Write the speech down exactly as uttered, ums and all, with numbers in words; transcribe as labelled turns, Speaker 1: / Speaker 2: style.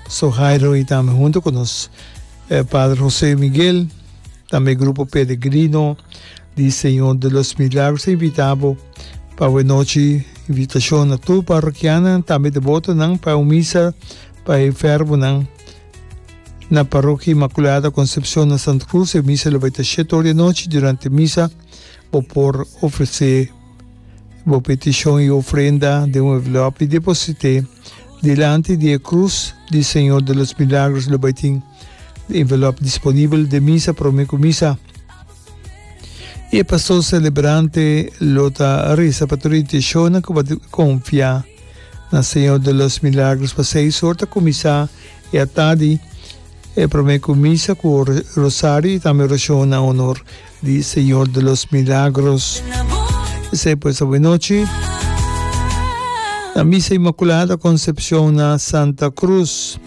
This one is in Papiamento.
Speaker 1: Sojairo y tambe hunto cu nos Padre José Miguel, tambe Grupo Peregrino di Señor de los Milagros ta invita bo pa awe nochi. Invitacion na tur parrokianan, tambe debotonan, pa un misa pa e enfermonan na Parokia Inmaculada Concepcion na Santa Cruz. E misa lo bai ta shete or di anochi. Durante misa bo por ofrece bo peticion y ofrenda den un envelop y deposite dilanti di e cruz di Señor de los Milagros. Lo bai tin envelop disponibel den misa prome cu misa. Y e pastor celebrante lo ta reza pa tur e intencionnan cu bo a confia na Señor de los Milagros. Pa seis or ta cuminsa e atadi e prome cu misa cu rosario y tambe oracion na honor di Señor de los Milagros. Esey pues awe nochi na Misa Inmaculada Concepcion na Santa Cruz.